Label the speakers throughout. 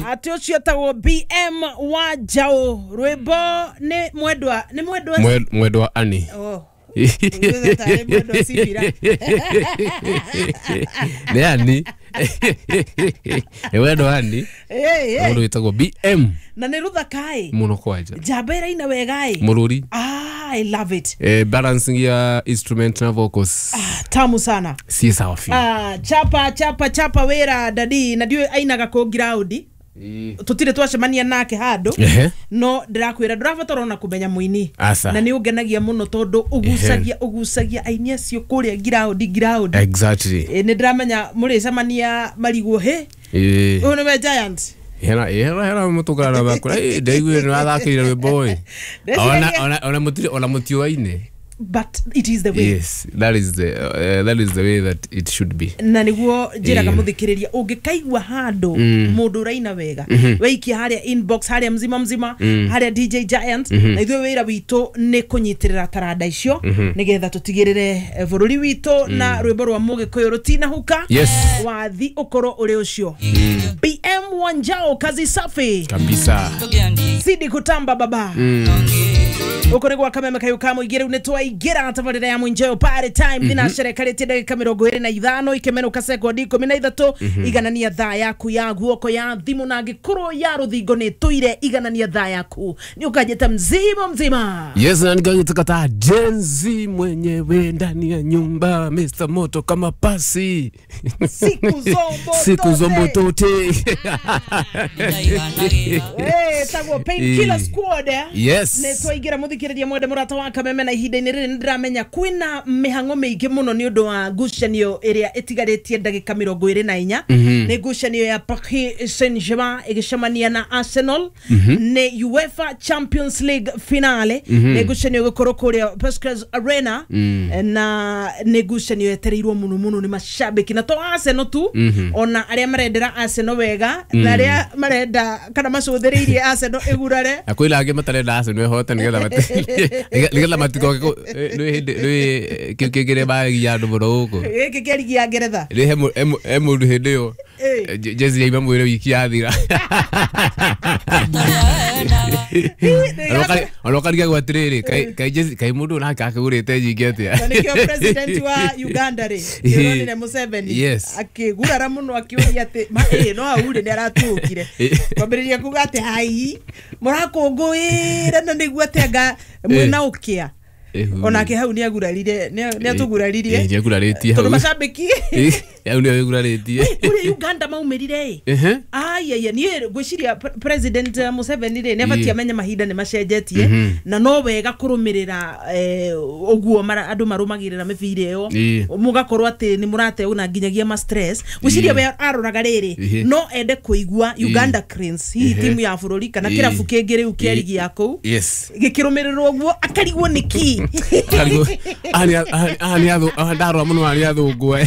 Speaker 1: Ati ucio etagwo BM wa Njau rwimbo ni mwendwa ni mwendwa
Speaker 2: mwendwa ani.
Speaker 1: Oh. Mwendwa Sibira.
Speaker 2: Ni ani. Ni mwendwa ani. Mundu witagwo BM.
Speaker 1: Na ni ruthaka
Speaker 2: muno kwanja.
Speaker 1: Njamba iraina wega
Speaker 2: Mururi.
Speaker 1: Ah, I love it.
Speaker 2: Balancing ya instrument na vocals.
Speaker 1: Ah, tamu sana.
Speaker 2: Si sawa fi.
Speaker 1: Ah, chapa chapa chapa wera dadi na ndiwe ainaga ko ground. Tutire twacemania nake handu no ndirakwira ndurabatara ona kumenya muini na ni ungenagia muno tondu ugucagia aini acio kuria ground.
Speaker 2: Exactly.
Speaker 1: Ni ndiramenya muricemania marigwo he uyu ni we Giant.
Speaker 2: Hera hera hera mutugara bakura ndaiguire ni wathakire rwimbo ĩ ona mutire ona mutiwaine.
Speaker 1: But it is the way.
Speaker 2: Yes, that is the way that it should be.
Speaker 1: Na niguo njiraga muthikiriria ungikaigua handu mundu uraina wega weikia haria inbox haria mzima mzima haria DJ Giant na ithuĩ wira witu ni kunyitirira taranda icio nigetha tutigirire bururi witu na rwimbo rwa mugikuyu rutinahuka.
Speaker 2: Yes.
Speaker 1: Wathi ukorwo uri ucio. BM Wanjao, kazi safi
Speaker 2: kabisa.
Speaker 1: Zidi kutamba baba. Uko ni gwa Kameme kayu ka muingĩ rĩu nĩ twaingĩra tabarĩra ya Mwinjeo party time thinacerekarĩtie ndagĩka 25 ikemenuka sekondi 13 iganania thaa yaku ya guoko ya thimũ na angĩkorwo ya rũthingo nĩ tũire iganania thaa yaku nĩ ũkanjĩta mzima mzima.
Speaker 2: Yes, na nikajita Gen Z mwenyewe ndani ya nyumba Mr Moto kama pasi
Speaker 1: siku zombo
Speaker 2: siku zombo tote.
Speaker 1: Tagwo Painkiller Squad.
Speaker 2: Yes.
Speaker 1: Nĩ twaingĩra muthikiriria mwende murata wa Kameme na ihinda-inĩ rĩrĩ nĩndĩramenya kwĩna mĩhang'o mĩingĩ mũno nĩ ũndũ wa ngucanio ĩrĩa ĩtigarĩtie ndagĩka 24. Nĩ ngucanio ya Paris Saint-Germain ĩgĩcemania na Arsenal nĩ UEFA Champions League finale. Nĩ ngucanio ĩgũkorwo kũrĩa Puskas Arena na nĩ ngucanio yetereirwo mũno mũno nĩ mashabiki na to Arsenal tu ona arĩa marendera Arsenal wega na arĩa marenda kana macũthĩrĩirie Arsenal ĩgurare
Speaker 2: na kwĩna angĩ matarenda Arsenal ĩhote nĩgetha nĩgetha matikoke nĩ hĩndĩ nĩ kĩu bagia andũ mũno gũkũ
Speaker 1: gĩkĩ kĩa rigi ya Ngeretha
Speaker 2: nĩ he mũndũ hĩndĩ ĩyo jezi yaima mwĩrĩ wiki yathira ona ũkarigagwo atĩrĩrĩ kaĩ mũndũ nake akĩgũrĩte nyingĩ atĩa.
Speaker 1: Na nĩkĩo president wa Uganda rĩ nĩũronire Museveni akĩgurara mũno akĩũria atĩ no hau rĩ nĩ aratuũkire kwambĩrĩria kuga atĩ hai mũrakũngũĩra na nĩguo atĩ anga mwĩna ũkĩa onake hau nĩ agurarire nĩ atũguraririe
Speaker 2: nĩ agurarĩtie hau
Speaker 1: tondũ macambĩki
Speaker 2: hau nĩ agurarĩtie
Speaker 1: kũrĩa Uganda maumĩrire ĩ aiya niĩ ngwĩciria President Museveni rĩ nĩ abatie amenye mahinda nĩ macenjetie na no wega kũrũmĩrĩra ũguo andũ marũmagĩrĩra mĩbira ĩyo mũgakorwo atĩ nĩ mũrateuna nginyagia ma stress. Ngwĩciria we aroraga rĩrĩ no ende kũigua Uganda Cranes hihi timu ya bũrũri kana kĩrabu kĩngĩ rĩu kĩa rigi ya kũu gĩkĩrũmĩrĩrwo ũguo akarigwo nĩkĩ
Speaker 2: ndarora mũno arĩa athũngũ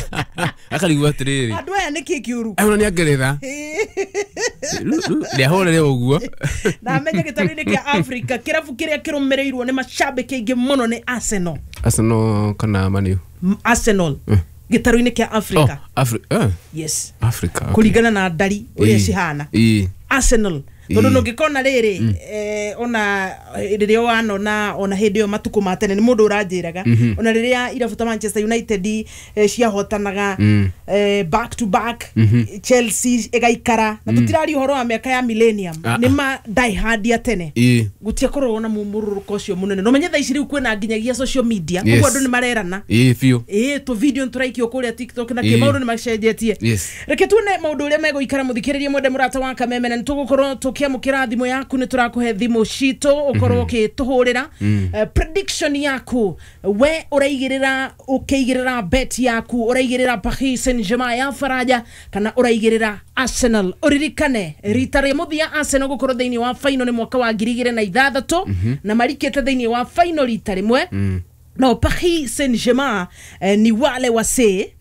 Speaker 2: akarigwo atĩrĩrĩ
Speaker 1: andũ aya nĩkĩ kĩũru
Speaker 2: ona nĩ Ngeretha nĩahũrĩre ũguo
Speaker 1: na amenye gĩtarũ-inĩ kĩa Africa kĩrabu kĩrĩa kĩrũmĩrĩirwo nĩ macambĩki aingĩ mũno nĩ Arsenal.
Speaker 2: Arsenal kana Man U?
Speaker 1: Arsenal gĩtarũ-inĩ kĩa Africa. Yes.
Speaker 2: Africa.
Speaker 1: Kũringana na ndari ũrĩa cihana Arsenal tondu nungikona riri ona riria wanona ona hindi yo matuku ma tene ni mundu uranjiraga ona riria irabu ta Manchester United ciahotanaga back to back Chelsea igaikara na tutiraria uhoro wa miaka ya millennium ni ma die hard ya tene gutiakorwo na mumururuko ucio munene no menye thaa ici riu kwina nginyagia social media koguo andu ni marerana
Speaker 2: biũ
Speaker 1: tu video turaikio kuria TikTok na ki maundu ni macenjetie. Reke tuone maundu uria meguikara muthikiririe mwende murata wa Kameme na nitugukorwo tukiamukira thimu yaku ni turakuhe thimu citu ukorwo ukituhurira prediction yaku we uraigirira ukiigirira bet yaku uraigirira Paris Saint-Germain ya Faraja kana uraigirira Arsenal. Uririkane rita ria muthia Arsenal gukorwo thiini wa final ni mwaka wa 2006 na marikite thiini wa final rita rimwe. No Paris Saint-Germain ni wale wase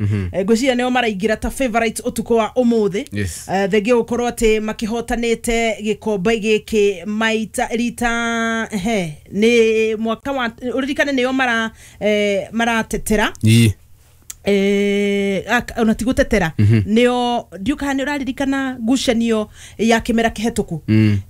Speaker 1: ngwiciria nio maraingira ta favorites utuko wa umuthi. Thengia gukorwo ati makihotanite gikombe giki maita rita ni mwaka wa uririkane nio mara maratetera Ona ti gũtetera, nĩo ndiũ kana nĩ ũraririkana ngucanio ya kĩmera kĩhetũku,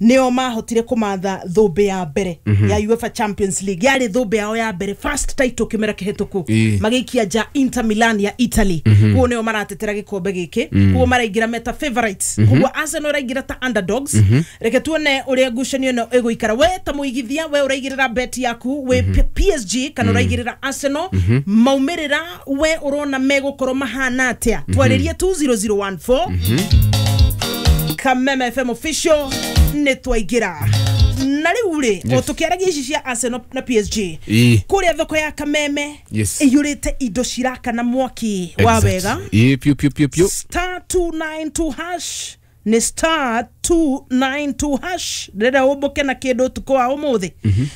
Speaker 1: nĩo mahotire kũmatha thũmbĩ ya mbere ya UEFA Champions League. Yarĩ thũmbĩ yao ya mbere, first title kĩmera kĩhetũku, magĩikia nja Inter Milan ya Italy. Koguo nĩo maratetera gĩkombe gĩkĩ, koguo maraingĩra meta favorites, koguo Arsenal ĩraingĩra ta underdogs. Reke tuone ũrĩa ngucanio ĩno ĩgũikara. We ta mũigithia, we ũraigĩrĩra bet yaku wĩ PSG kana ũraigĩrĩra Arsenal, maumĩrĩra we ũrona megũkorwo mahana atĩa? Twarĩrie 20014. Kameme FM official nĩ twaingĩra na rĩu rĩ, o tũkĩaragia ici cia Arsenal na PSG, kũrĩa thoko ya Kameme ĩiyũrĩte indo cirakana mwaki wa wega.
Speaker 2: Piu piu piu piu.
Speaker 1: Star 292 hash, nĩ star 292 hash. Ndĩrenda ũmbũke na kĩndũ ũtukũ wa ũmũthĩ.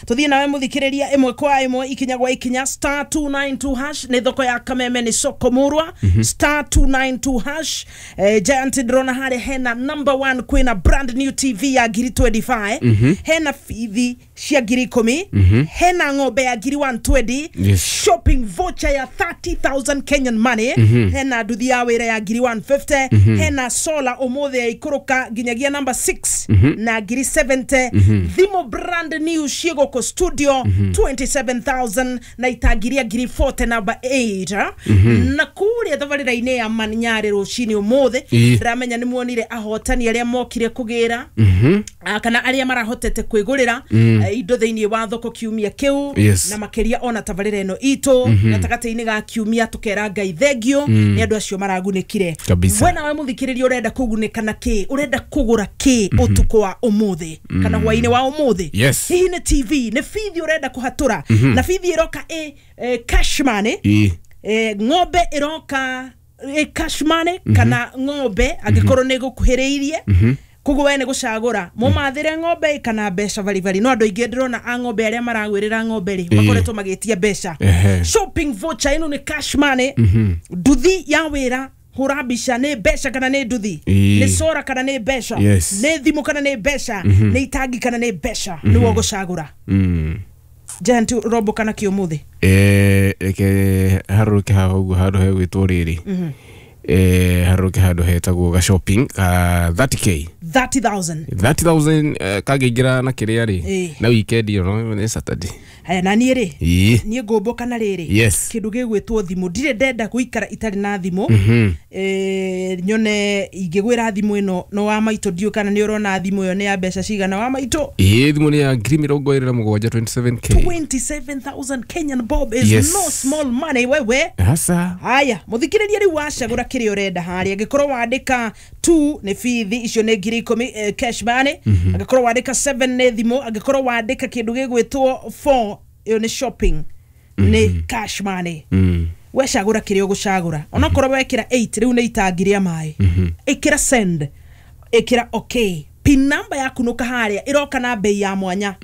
Speaker 1: Tũthiĩ nawe mũthikĩrĩria ĩmwe kwa ĩmwe, ikinya gwa ikinya. Star 292 hash nĩ thoko ya Kameme, nĩ soko murwa. Star 292 hash. Giant, ndĩrona harĩa hena number one, kwĩna brand new TV ya ngiri 25, hena bithi cia ngiri 10, hena ng'ombe ya ngiri 120, shopping voucher ya 30,000 Kenyan money, hena nduthi ya wĩra ya ngiri 150, hena solar ũmũthĩ ya ikũrũka nginyagia number 6 na ngiri 70, thimũ brand new ciĩ gũkũ studio 27,000, na itangi rĩa ngiri 40 number 8. Na kũrĩa thabarĩra-inĩ ya Manyarĩ rũcinĩ ũmũthĩ, ndĩramenya nĩ muonire ahotani arĩa mokire kũgĩra, kana arĩa marahotete kwĩgũrĩra indo thĩinĩ wa thoko kiumia kĩu, na makĩria ona tabarĩra ĩno itũ gatagatĩ-inĩ ga kiumia tũkera Ngai thengio nĩ andũ acio maragunĩkire.
Speaker 2: Kabisa.
Speaker 1: We nawe mũthikĩrĩria, ũrenda kũgunĩka na kĩ? Ũrenda kũgũra kĩ ũtukũ wa ũmũthĩ kana hwaĩ-inĩ wa ũmũthĩ? Hihi nĩ TV, nĩ bithi ũrenda kũhatũra? Na bithi ĩroka ĩ cash money, ng'ombe ĩroka ĩ cash money, kana ng'ombe angĩkorwo nĩ gũkuhĩrĩirie. Koguo we nĩ gũcagũra mũmathĩre ng'ombe kana mbeca baribari. No andũ aingĩ ndĩrona a ng'ombe, arĩa maragwĩrĩra ng'ombe rĩ, makoretwo magĩtia mbeca. Shopping voucher ĩno nĩ cash money. Nduthi ya wĩra, hũra mbica, nĩ mbeca kana nĩ nduthi? Nĩ sora kana nĩ mbeca? Nĩ thimũ kana nĩ mbeca? Nĩ itangi kana nĩ mbeca? Nĩwe ũgũcagũra. Giant, robo kana kĩ ũmũthĩ?
Speaker 2: Reke harũrũke haha ũguo handũ hegwĩtwo rĩrĩ, harũrũke handũ hetagwo ga shopping ka 30K.
Speaker 1: 30,000.
Speaker 2: 30,000, kangĩingĩra na kĩrĩa rĩ, na weekend ĩyo no nĩ Saturday.
Speaker 1: Haya, na niĩ rĩ, niĩ ngũmbũka na rĩrĩ, kĩndũ gĩgwĩtwo thimũ. Ndirĩ ndenda gũikara itarĩ na thimũ. Nyone ingĩgwĩra thimũ ĩno no wa maitũ, ndiũ kana nĩ ũrona thimũ ĩyo nĩ ya mbeca cigana, wa maitũ?
Speaker 2: Thimũ nĩ ya ngiri 27, 27K.
Speaker 1: 27,000 Kenyan bob is no small money, wewe.
Speaker 2: Hasa.
Speaker 1: Haya, mũthikĩrĩria, rĩu wacagũra kĩrĩa ũrenda harĩa. Angĩkorwo wandĩka 2 nĩ bithi, icio nĩ ngiri 10, cash money. Angĩkorwo wandĩka 7 nĩ thimũ. Angĩkorwo wandĩka kĩndũ gĩgwĩtwo 4, ĩyo nĩ shopping, nĩ cash money. Wecagũra kĩrĩa ũgũcagũra, onokorwo wekĩra 8 rĩu nĩ itangi rĩa maĩ, ĩkĩra send, ĩkĩra okay, pin number yaku nũka harĩa ĩroka na bei ya mwanya.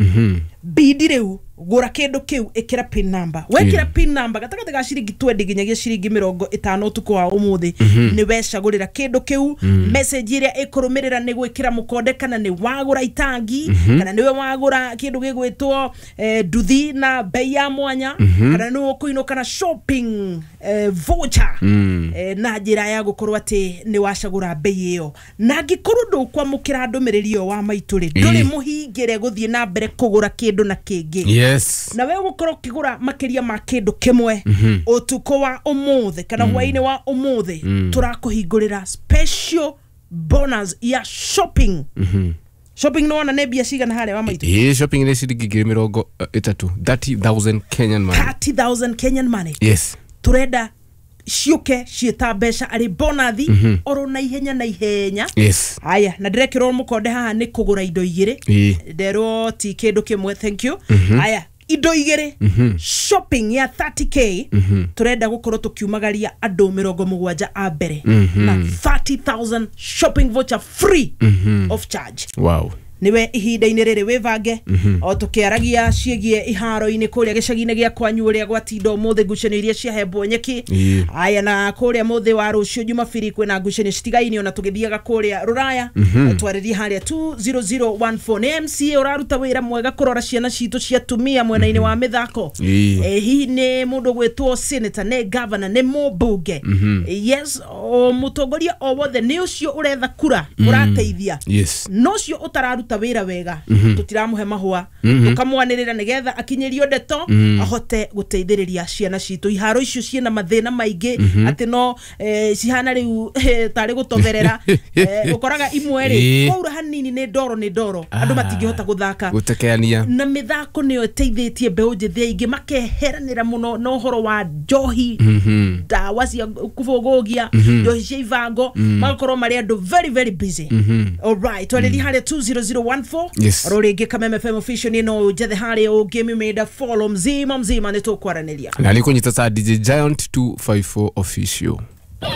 Speaker 1: Bidi rĩu gũra kĩndũ kĩu, ĩkĩra pin number. Wekĩra pin number gatagatĩ ga ciringi 20 nginyagia ciringi 50 ũtukũ wa ũmũthĩ, nĩ wecagũrĩra kĩndũ kĩu. Message ĩrĩa ĩkũrũmĩrĩra nĩ gwĩkĩra mũkonde kana nĩ wagũra itangi, kana nĩwe wagũra kĩndũ gĩgwĩtwo nduthi na bei ya mwanya, kana nĩwe ũkũinũka na shopping voucher, na njĩra ya gũkorwo atĩ nĩ wacagũra bei ĩyo. Na angĩkorwo ndũkwamũkĩra ndũmĩrĩri ĩyo, wa maitũ rĩ, ndũrĩ mũhingĩre gũthiĩ na mbere kũgũra kĩndũ na kĩngĩ. Na we ũgũkorwo ũkĩgũra makĩria ma kĩndũ kĩmwe ũtukũ wa ũmũthĩ kana hwaĩ-inĩ wa ũmũthĩ, tũrakũhingũrĩra special bonus ya shopping. Shopping nĩ wona nĩ mbia cigana harĩa, wa maitũ?
Speaker 2: Shopping nĩ ciringi ngiri 30, 30,000 Kenyan money.
Speaker 1: 30,000 Kenyan money. Turenda ciũke ciĩta mbeca arĩ bonathi oro na ihenya na ihenya. Haya, na ndĩrekĩrwo mũkonde haha nĩ kũgũra indo igĩrĩ. Nderwo ti kĩndũ kĩmwe, thank you. Haya, indo igĩrĩ, shopping ya 30K, turenda gũkorwo tũkiumagaria andũ 70 a mbere na 30,000 shopping voucher free of charge. Niwe ihinda-inĩ rĩrĩ wĩvange o tũkĩaragia ciĩgiĩ iharo-inĩ kũrĩa gĩcagi-inĩ gĩa kwanyu ũrĩa gwatinda ũmũthĩ, ngucanio iria ciahembwo nyeki. Aya, na kũrĩa mũthĩ wa rũciũ Jumabiri kwĩna ngucanio citigaine, ona tũgĩthiaga kũrĩa rũraya. Twarĩrie harĩa 20014. Nĩ MCA ũraruta wĩra mwega kũrora ciana citũ cia tumia mwena-inĩ wa mĩthako? Hihi nĩ mũndũ gwĩtwo senator, nĩ governor, nĩ mũmbunge? Yes, o mũtongoria o wothe nĩ ũcio ũretha kura ũrateithia, no ũcio ũtararuta wĩra wega tũtiramũhe mahũa, tũkamwanĩrĩra nĩgetha akinyĩrio ndeto ahote gũteithĩrĩria ciana citũ. Iharo icio ciĩna mathĩna maingĩ atĩ no cihana rĩu tarĩ gũtoberera. Ũkoraga imwe rĩ, kwaura hanini nĩ ndoro, nĩ ndoro, andũ matingĩhota gũthaka.
Speaker 2: Gũtekeania.
Speaker 1: Na mĩthako nĩyo ĩteithĩtie mbeũ njĩthĩ aingĩ makeheranĩra mũno na ũhoro wa njohi, ndawa cia kũbũgũgia, njohi cia ibango, magakorwo marĩ andũ very very busy. Alright, twarĩria harĩa 20014. Ro rĩngĩ Kameme FM official nĩ no njethe harĩa ũngĩmĩmĩnda follow mzima mzima, nĩ tũkwaranĩria.
Speaker 2: Na nĩ kũnyita ta DJ Giant 254 official.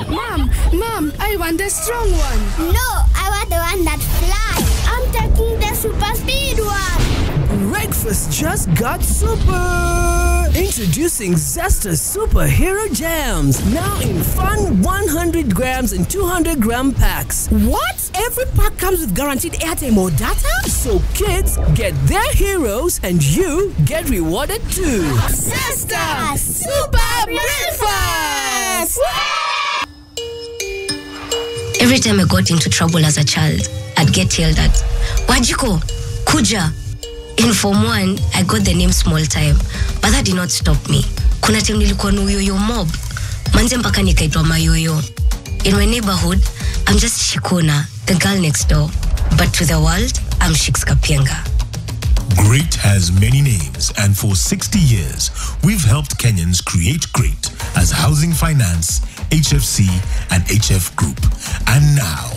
Speaker 3: Mom, Mom, I want the strong one.
Speaker 4: No, I want the one that flies. I'm taking the super speed one.
Speaker 5: Breakfast just got super! Introducing Zesta Superhero Jams, now in fun 100 grams and 200 gram packs.
Speaker 3: What? Every pack comes with guaranteed airtime or data?
Speaker 5: So kids get their heroes and you get rewarded too.
Speaker 3: Zesta Super Breakfast!
Speaker 6: Every time I got into trouble as a child, I'd get yelled at. "Wanjiku, kuja." In Form 1, I got the name Small Time, but that did not stop me. Kuna time nilikuwa na uyoyo mob. Manze mpaka nikaitwa mayoyo. In my neighborhood, I'm just Shikona, the girl next door. But to the world, I'm Shiks Kapienga.
Speaker 7: Great has many names, and for 60 years, we've helped Kenyans create great as Housing Finance, HFC, and HF Group. And now,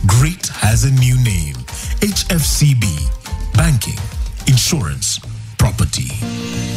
Speaker 7: great has a new name: HFCB. Banking, Insurance, Property.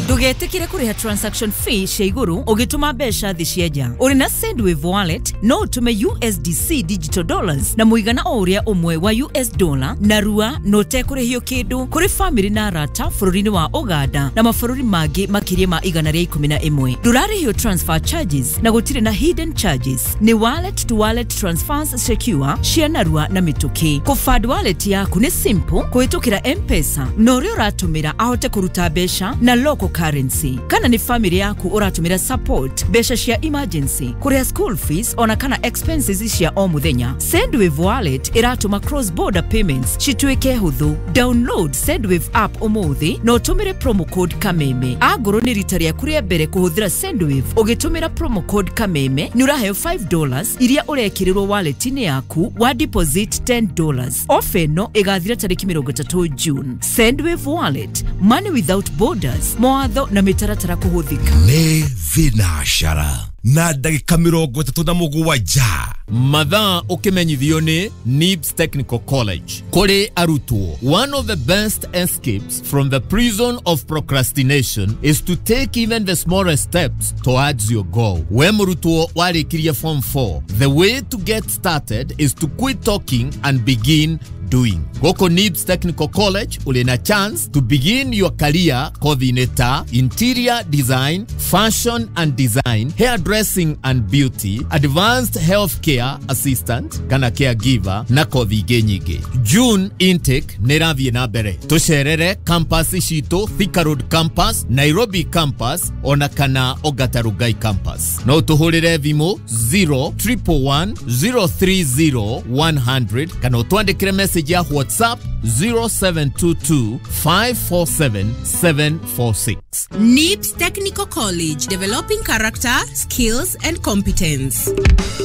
Speaker 8: Ndũgetĩkĩre kũrĩha transaction fee cia igũrũ ũgĩtũma mbeca thĩ cia nja. Ũrĩ na Sendwave Wallet no ũtũme USDC digital dollars na mũigana o ũrĩa ũmwe wa US dollar na rua na ũtekũrĩhio kĩndũ kũrĩ famĩlĩ na arata bũrũri-inĩ wa Ũganda na mabũrũri mangĩ makĩria ma 111. Ndũrarĩhio transfer charges na gũtirĩ na hidden charges. Nĩ wallet to wallet transfers secure cia narua na mĩtũkĩ. Kũfund wallet yaku nĩ simple kũhĩtũkĩra M-Pesa na ũrĩa ũratũmĩra ahote kũruta mbeca na local currency. Kana nĩ family yaku ũratũmĩra support, mbeca cia emergency, kũrĩha school fees ona kana expenses cia o mũthenya, Sendwave Wallet ĩratũma cross border payments cituĩke hũthũ. Download Sendwave app ũmũthĩ na ũtũmĩre promo code Kameme. Angorwo nĩ rita rĩaku rĩa mbere kũhũthĩra Sendwave, ũgĩtũmĩra promo code Kameme nĩ ũraheo $5 iria ũrekĩrĩrwo wallet-inĩ yaku wa deposit $10. Ofa ĩno ĩgathira tarĩki 30 June. Sendwave Wallet, money without borders. Mawatho na mĩtaratara kũhũthĩka.
Speaker 9: Nĩ thinacara na ndagĩka 37.
Speaker 10: Mathaa ũkĩmenyithio nĩ NIBS Technical College kũrĩ arutwo. One of the best escapes from the prison of procrastination is to take even the smallest steps towards your goal. We mũrutwo warĩkirie form 4, the way to get started is to quit talking and begin doing. Gũkũ NIBS Technical College ũrĩ na chance to begin your career kothi-inĩ ta interior design, fashion and design, hairdressing and beauty, advanced healthcare assistant kana caregiver na kothi ingĩ nyingĩ. June intake nĩ ĩrathiĩ na mbere. Tũcerere campus citũ, Thika Road campus, Nairobi campus ona kana Ongata Rongai campus. No tũhũrĩre thimũ 0111 030 100 kana ũtwandĩkĩre message ya WhatsApp 0722 547 746.
Speaker 11: NIBS Technical College, developing character, skills, and competence.